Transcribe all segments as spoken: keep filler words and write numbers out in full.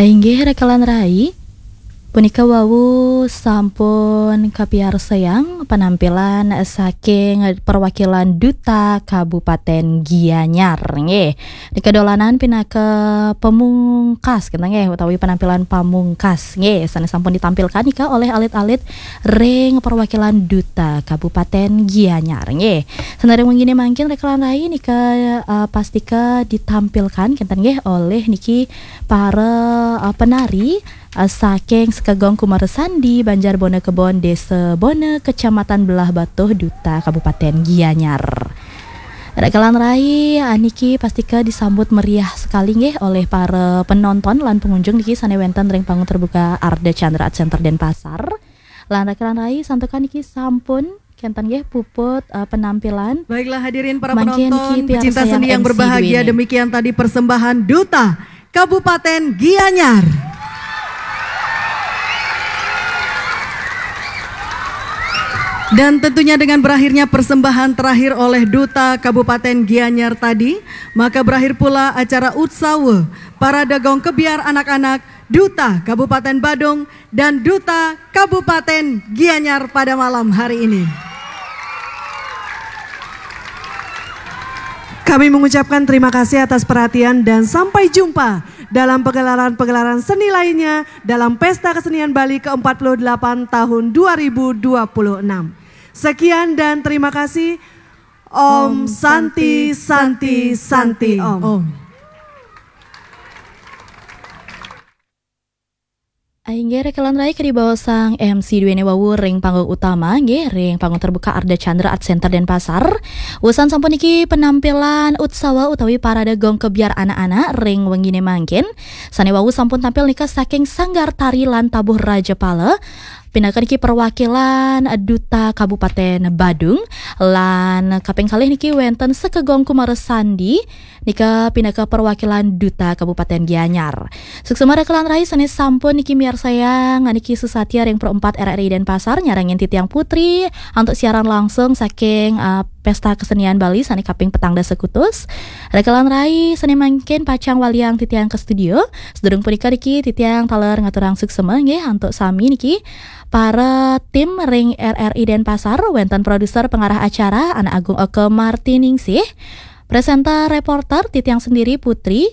Inggih, rekan rai, punika wau sampun kapiarsayang penampilan saking perwakilan Duta Kabupaten Gianyar, nggih. Nika dolanan pinaka pamungkas, kita nggih, utawi penampilan pamungkas, nggih, sane sampun ditampilkan nika oleh alit-alit ring perwakilan Duta Kabupaten Gianyar, nggih. Sane ring wengi mangkin, rekan rai, nika, eh, pastika ditampilkan, kinten nggih, oleh niki para, eh, penari, eh, saking Sekegong Kumarasandi, Banjar Bona Kebon, Desa Bona, Kecamatan Belah Batuh, Duta Kabupaten Gianyar. Rekan rai, eh, niki pastika disambut meriah sekali nggih oleh para penonton lan pengunjung niki sane wenten ring panggung terbuka Ardha Candra Art Center Denpasar. Lan rekan rai, santukan niki sampun kenten nggih puput, eh, penampilan. Baiklah, hadirin para penonton, pecinta seni yang berbahagia, demikian tadi persembahan Duta Kabupaten Gianyar. Dan tentunya dengan berakhirnya persembahan terakhir oleh Duta Kabupaten Gianyar tadi, maka berakhir pula acara Utsawa Parade Gong Kebyar Anak-anak Duta Kabupaten Badung dan Duta Kabupaten Gianyar pada malam hari ini. Kami mengucapkan terima kasih atas perhatian dan sampai jumpa dalam pegelaran-pegelaran seni lainnya dalam Pesta Kesenian Bali ke empat puluh delapan tahun dua ribu dua puluh enam. Sekian dan terima kasih. Om Santi, Santi, Santi, Om. Om. Inggih, rekan rai, kadi baosang M C duene wau ring panggung utama, nggih, ring panggung terbuka Ardha Candra Art Center Denpasar. Wusan sampun niki penampilan Utsawa utawi Parade Gong Kebyar Anak-anak ring wengine mangkin. Sane wau sampun tampil nika saking Sanggar Tari lan Tabuh Rajapala. Pinaka niki perwakilan Duta Kabupaten Badung, lan kaping kalih niki wenten Sekegong Kumarasandi, nika pinaka perwakilan Duta Kabupaten Gianyar. Suksma rekan rai sane sampun niki miarsayang niki sesatia ring Pro empat R R I Denpasar, nyarengin titiang Putri antuk siaran langsung saking, uh, Pesta Kesenian Bali sane kaping petang dasa kutus. Rekan rai sane mangkin pacang waliang titiang ke studio. Sedurung punika niki titiang taler ngaturang suksma nggih antuk sami niki para tim ring R R I Denpasar, wenten produser pengarah acara Anak Agung Eke Martiningsih, presenter reporter titiang sendiri Putri,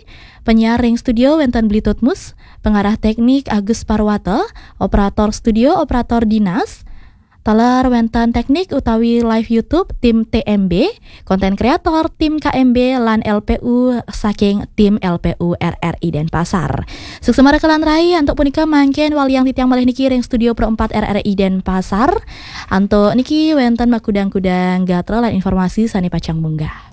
penyiar ring studio wenten Bli Tutmus, pengarah teknik Agus Parwata, operator studio, operator dinas, taler wenten teknik utawi live YouTube tim T M B, konten kreator tim K M B, lan L P U saking tim L P U R R I Denpasar. Suksma rekan rai, antuk punika mangkin waliang titiang malih niki ring studio Pro empat R R I Denpasar. Antuk niki wenten makudang-kudang gatra lan informasi sane pacang munggah.